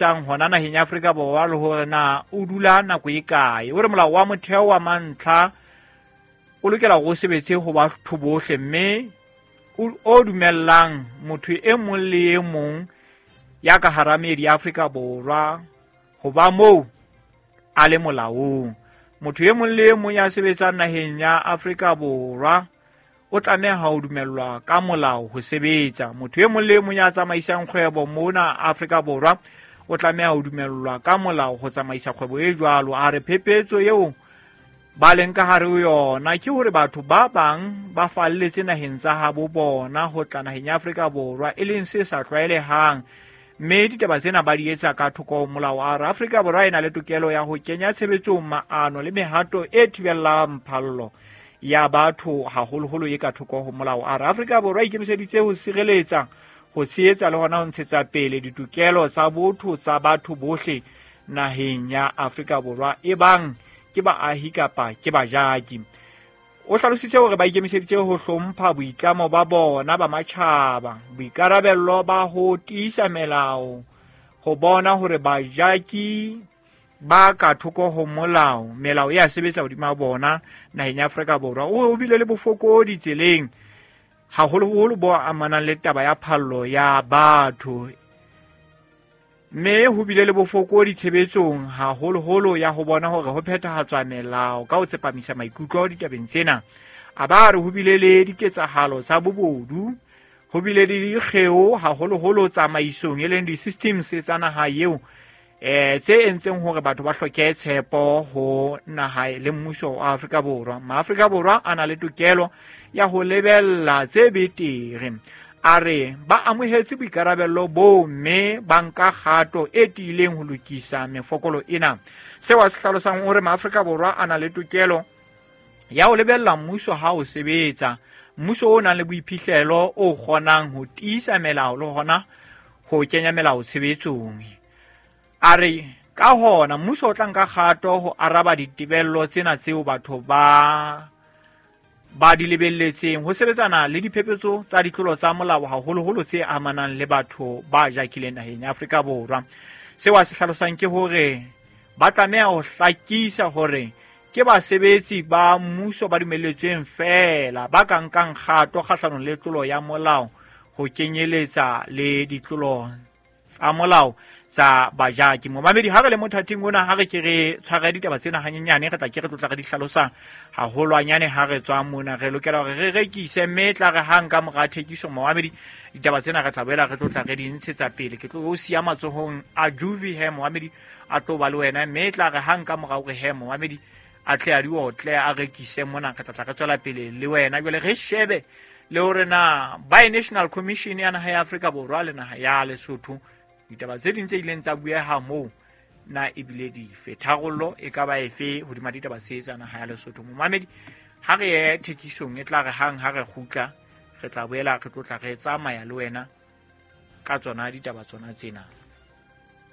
Tang hona naheng ya Afrika Borwa le hore na o dula nako e kae. O re molao wa motheo wa mantlha o lokela hore o sebetse ho batho bohle mme o dumellang motho e mong le e mong ya ka hara meedi ya Afrika Borwa ho ba moo a le molaong. Motho e mong le e mong ya sebetsang naheng ya Afrika Borwa o tlameha ho dumellwa ka molao ho sebetsa. Motho e mong le e mong ya tsamaisang kgwebo mona Afrika Borwa o tlameha ho dumellwa ka molao ho tsamaisa kgwebo e jwalo. A re phephetso eo ba leng ka hare ho yona ke hore batho ba bang ba falletse naheng tsa habo bona ho tla naheng ya Afrika Borwa, e leng se sa tlwaelehang, mme ditaba tsena ba di etsa ka thoko ho molao. A re Afrika Borwa e na le tokelo ya ho kenya tshebetsong maano le mehato e thibellang phallo ya batho, haholoholo e ka thoko ho molao. A re Afrika Borwa e ikemiseditse ho sireletsa, ho tshehetsa le hona ho ntshetsa pele ditokelo tsa botho tsa batho bohle naheng ya Afrika Borwa, e bang ke baahi kapa ke bajaki. O hlalositse hore ba ikemiseditse ho hlompha boitlamo ba bona ba matjhaba, boikarabello ba ho tiisa melao, ho bona hore bajaki ba ka thoko ho molao, melao e a sebetsa hodima bona naheng ya Afrika Borwa. O bile le bofokodi tseleng, haholoholo bo amanang le taba ya phallo ya batho, mme ho bile le bofokodi tshebetsong haholoholo ya ho bona hore ho phethahatswa melao ka ho tsepamisa maikutlo ditabeng tsena. A ba re ho bile le diketsahalo tsa bobodu, ho bile le dikgeo haholoholo tsamaisong e leng di-systems tsa naha eo, tse entseng hore batho ba hloke tshepo ho naha le mmuso wa Afrika Borwa. Maafrika Borwa a na le tokelo ya ho lebella tse betere. A re ba amohetse boikarabello boo mme ba nka kgato e tiileng ho lokisa mefokolo ena. Seo a se hlalosang o re Maafrika Borwa a na le tokelo ya ho lebella mmuso ha o sebetsa, mmuso o nang le boiphihlelo o kgonang ho tiisa melao le hona ho kenya melao tshebetsong. A re ka hona mmuso o tla nka kgato ho araba ditebello tsena tseo batho ba di lebelletseng ho sebetsana le diphephetso tsa ditlolo tsa molao, haholoholo tse amanang le batho ba jakileng naheng ya Afrika Borwa. Seo a se hlalosang ke hore ba tlameha ho hlakisa hore ke basebetsi ba mmuso ba dumelletsweng feela ba ka nkang kgato kgahlanong le tlolo ya molao, ho kenyeletsa le ditlolo tsa molao tsa bajaki. Momamedi, ha re le mothating ona, ha re ke re tshware ditaba tsena hanyenyane, re tla ke re tlotla re di hlalosa haholwanyane ha re tswa mona. Re lokela hore re rekise, mme tla re hang ka mora thekiso, momamedi, ditaba tsena re tla boela re tlotla re di ntshetsa pele. Ke tlo o siya matsohong a Juvi he, momamedi, a tlo ba le wena, mme tla re hang ka mora hore he, momamedi, a tle a di otle a rekise mona, re tla tla re tswela pele le wena. Jwale re shebe le hore na Bi-National Commission ya naha ya Afrika Borwa le naha ya Lesotho, ditaba tse ding tse ileng tsa bueha moo na ebile dife, tharollo e ka ba efe hodima ditaba tse tsa naha ya Lesotho. Momamedi, ha re ye thekisong, e tla re hang ha re kgutla re tla boela re tlotla re tsamaya le wena ka tsona ditaba tsona tsena.